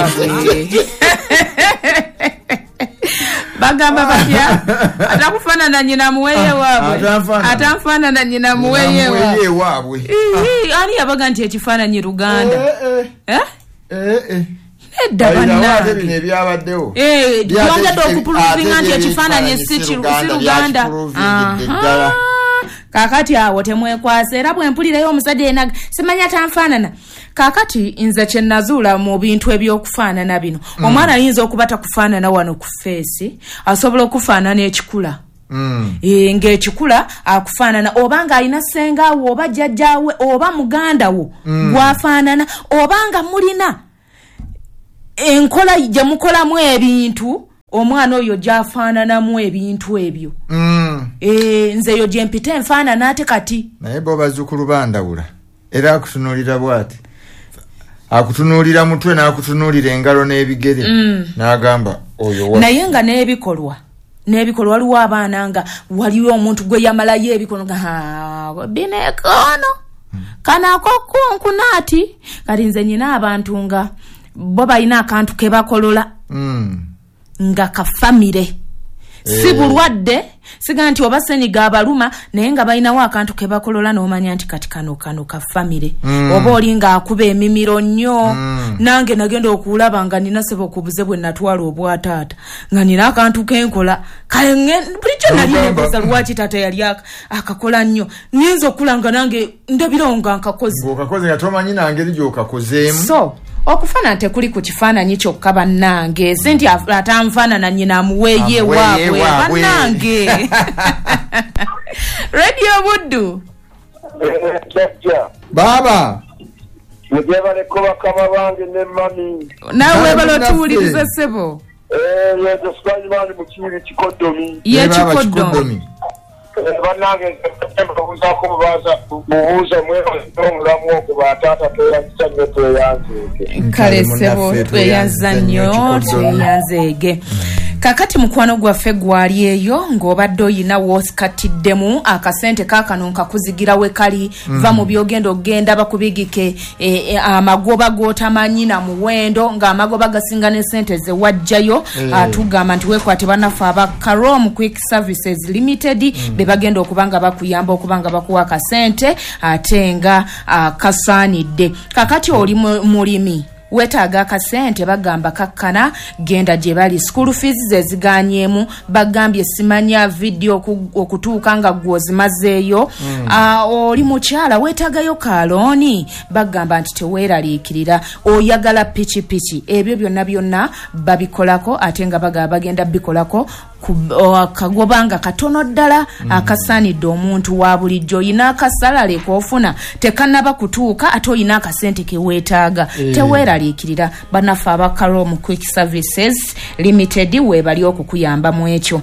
Mbwembwe. Bagamba batya, atakufaanana nnyina muweeye waabwe, atanfaanana nnyina muweeye waabwe. Ani yabaga nti ekifaananyi Luganda? Nedda bannange, bino ebyabaddewo byongedde okuprovinga nti ekifaananyi si Luganda. Kaakati awo temwekwasa, era bwe mpulirayo omusajja yenna simanya tanfaanana. Kaakati nze kye nazuula mu bintu ebyokufaanana bino, omwana ayinza okuba takufaanana wano ku feesi, asobola okufaanana ekikula. Ng'ekikula akufaanana, oba ng'alina ssengaawo oba jjajjaawe oba muganda wo gwafaanana, oba nga mulina enkola gye mukolamu ebintu, omwana oyo gy'afaananamu ebintu ebyo. Nze eyo gye mpita enfaanana ate kati. Naye bo bazzukulu bandawula, era akutunuulira bw'ati, akutunuulira mutwe n'akutunuulira engalo n'ebigere, n'agamba oyo. Naye nga n'ebikolwa, waliwo abaana nga waliwo omuntu gwe yamalayo ebikolwa nga binekono kano akokunkunaati. Kati nze nyina abantu nga bo balina akantu ke bakolola nga kafamire, si bulwadde, siga nti oba ssenyiga abaluma, naye nga balinawo akantu ke bakolola n'omanya nti kati kano kafamire. Oba oli ng'akuba emimiro nnyo. Nange nagenda okulaba nga nina sebo okubuze bwe natwala obwataata, nga nina akantu kenkola bulijjo nali nebuuza lwaki taata yali akakola nnyo. Nyinza okula nga nange ndabirawo nga nkakoze. Ng'okakoze nga tomanyi nangeri gy'okakozeemu. So okufaanana tekuli ku kifaananyi kyokka bannange, si nti atanfaanana nnyina amuweeye waabwe bannange. Radio Buddu. Baba mujebaleko bakama bange ne mami. Naawe webale otuwuliriza ssebo. Yezo Sulaiman Mukiibi Kikodomi. Ye Kikodomi. Bannange mbabuuzaako mubuuza omulamu ogwo bataata tweyanziza nnyo, tweyanzeege. Kale ssebo tweyanza nnyo, tweyanzeege. Kakati mukwano gwaffe gwali eyo ng'obadde oyina woosikatiddemu akasente kaakano nkakuzigira we kali, va mu byogenda ogenda bakubigike amagoba g'otamanyi na muwendo, ng'amagoba gasinga n'essente ze wajjayo. Tugamba nti weekwate bannaffe aba Karom Quick Services Limited, be bagenda okuba nga bakuyamba okuba nga bakuwa akasente ate nga kasaanidde. Kakati oli mulimi wetaaga akasente, bagamba kakkana, genda gye bali. School fees ze ziganyeemu, bagambye simanya video okutuuka nga gwozimazeeyo. Oli mukyala weetaagayo kalooni, bagamba nti teweeraliikirira. Oyagala pikipiki, ebyo byonna byonna babikolako, ate nga bagamba bagenda bikolako kagoba nga katono ddala akasaanidde omuntu wa bulijjo. Oyina akasalale k'ofuna tekannaba kutuuka, ate oyina akasente ke weetaaga, teweeraliikirira. Bannaffe aba Karom Quick Services Limited weebali okukuyamba mu ekyo.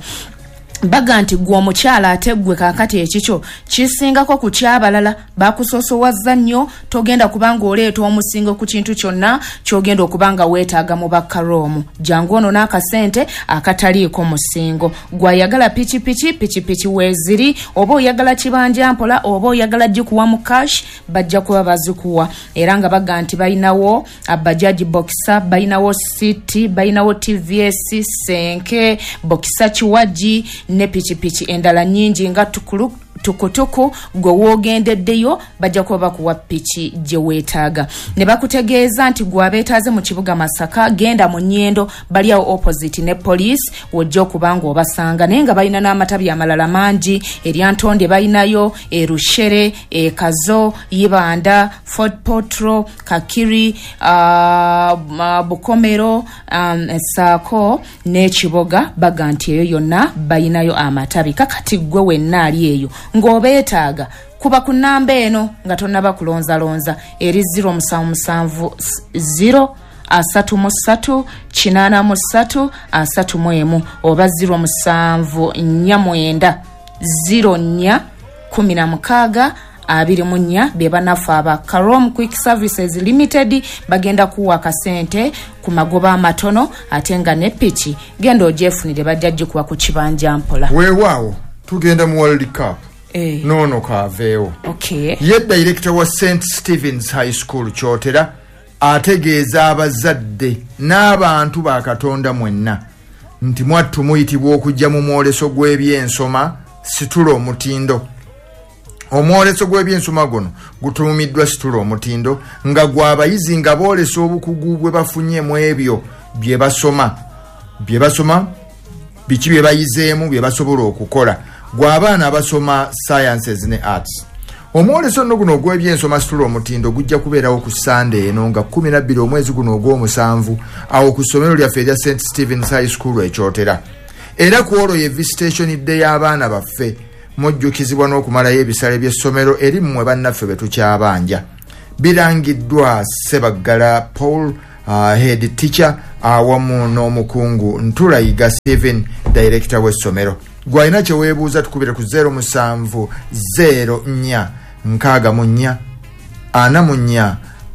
Baga nti gwe omukyala ate gwe kaakati ekikyo kisingako ku kyabalala, bakusosowaza nnyo, togenda kubanga oleeta omusingo ku kintu kyonna kyogenda okuba nga weetaaga mu Bakaromu. Jangu ono n'akasente akataliiko musingo. Gwayagala pikipiki, pikipiki weeziri, oba oyagala kibanja mpola, oba oyagala gikuwa mu cash, bajja kuba bazikuwa. Era nga baga nti balinawo Bajaji Boxer, balinawo City, balinawo TVS, Senke, Boxer Kiwagi ne pikipiki endala nnyingi nga tukutuku. Gwe woogendeddeyo bajja kuba bakuwa piki gye weetaaga. Ne bakutegeeza nti gwe abeetaaze mu kibuga Masaka, genda mu Nnyendo, bali awo opposite ne poliisi, wojja okuba nga obasanga. Naye nga balina n'amatabi amalala mangi, erya Ntonde balinayo, e Rushere, e Kazo, Ibanda, Fort Potro, Kakiri, Bukomero, Saako n'Ekiboga. Baga nti eyo yonna balinayo amatabi. Kakati gwe wenna ali eyo ng'obeetaaga, kuba ku nnamba eno nga tonnaba kulonzalonza, eri 077 0 33 83 31 oba 0749 04 16 24. Be bannaffe aba Karom Quick Services Limited, bagenda kuwa akasente ku magoba amatono, ate nga ne piki genda ogyefunire, bajja gikuwa ku kibanja mpola. Weewaawo tugenda mu World Cup. Noono kaaveewo. Ye director wa St Stevens High School Kyotera, Ategeeza abazadde n'abantu ba Katonda mwenna nti mwattu muyitibwa okujja mu mwoleso gw'ebyensoma Situla Omutindo. Omwoleso gw'ebyensoma guno gutuumiddwa Situla Omutindo nga gw'abayizi nga boolesa obukugu bwe bafunye mu ebyo bye basoma, biki bye bayizeemu, bye basobola okukola, gw'abaana abasoma sciences ne arts. Omwoleso nno guno ogw'ebyensoma Situla Omutindo gujja kubeerawo ku Sande eno nga 12 omwezi guno ogw'omusanvu awo ku ssomero lyaffe erya St Stephen's High School Ekyotera. Era ku olwo ye visitation day y'abaana baffe, mujjukizibwa n'okumalayo ebisale by'essomero eri mmwe bannaffe be tukyabanja. Birangiddwa Ssebaggala Paul, head teacher, awamu n'omukungu Ntulayiga Stephen, director w'essomero. Gwalina kye weebuuza tukubire ku 07 04 64 44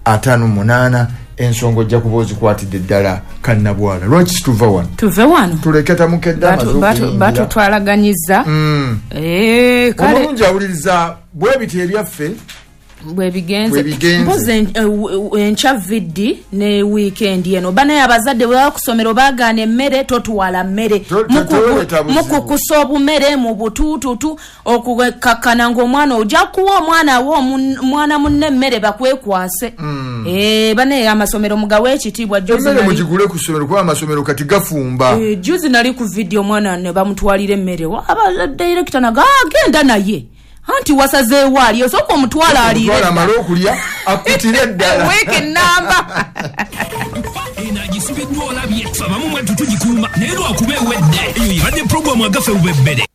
58. Ensonga ojja kuba ozikwatidde ddala kannabwala. Lwaki situva wano? Tuve wano tuleke tamukedde amaze okuyingira. Batutwalaganyiza. Kale omulungi awuliriza bwe biti ebyaffe bwe bigenze. Mpozi enkya viddi ne weekend eno banaye abazadde bwe bakusomero baagaana emmere, totwala mmere, mukukusa obumere mu butuututu okukakkana ng'omwana ojja kuwa omwana wo omwana munne emmere bakwekwase. Banaye amasomero mugawe ekitiibwa. Emmere mugigule ku ssomero kuba amasomero kati gafumba. Juzi nali ku vidiyo omwana ne bamutwalira emmere, aba director naga agenda naye anti wasazeewo ali osooka omutwala aliire amale okulya akutire ddala wiiki nnamba. Eno agisibiddwa olabye ffe abamu mwattu tugikuuma naye lwakuba ewedde. Eyo yebadde puroguramu agaffe bubebbere.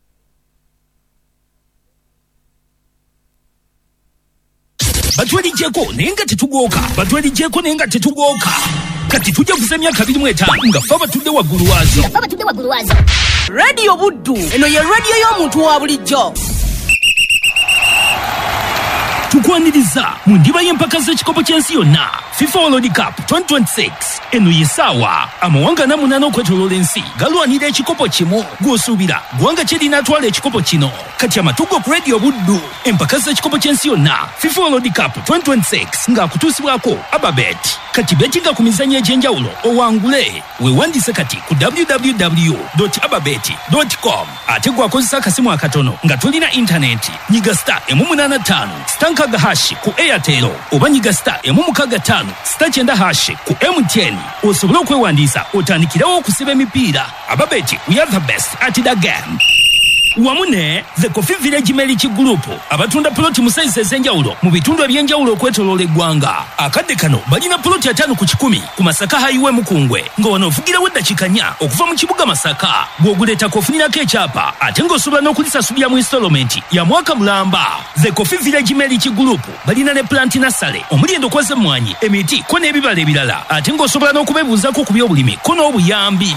Batwerigyeko naye nga tetugooka, batwerigyeko naye nga tetugooka. Kati tujja kuza emyaka 25 nga ffe abatudde waggulu waazo. Radio Buddu eno ye radio y'omuntu wa bulijjo. Tukwaniriza mu ndiba y'empaka z'ekikopo ky'ensi yonna FIFA World Cup 2026. Eno ye ssaawa amawanga 48 okwetooloola ensi galwanira ekikopo kimu. Gw'osuubira ggwanga ki erinaatwala ekikopo kino? Kati amatugo ku Radio Buddu, empaka z'ekikopo ky'ensi yonna FIFA World Cup 2026 ng'akutuusibwako Ababet. Kati betinga ku mizannyo egy'enjawulo owangule. Weewandiise kati ku www.ababet.com. Ate gwakozesa akasimu akatono nga tolina intaneti, nyiga star 885 star 6 hash ku Airtel oba nyiga star 665 star 9 hash ku MTN osobole okwewandiisa otandikirawo okusiba emipiira. Ababet, we are the best at the game. Wamu ne The Coffee Village Meliki Group abatunda poloti mu sayizi ez'enjawulo mu bitundu eby'enjawulo okwetooloola eggwanga. Akadde kano balina poloti 5 ku 100 ku Masaka Highway Mukungwe nga wano ovugirawo eddakiika 4 okuva mu kibuga Masaka. Bw'oguleetako ofunirako ekyapa ate ng'osobola n'okulisasulira mu installment ya mwaka mulamba. The Coffee Village Meliki Group balina ne plant nursery omuli endokwa z'emmwanyi, emiti ko n'ebibala ebirala ate ng'osobola n'okubeebuuzaako ku by'obulimi ko n'obuyambi.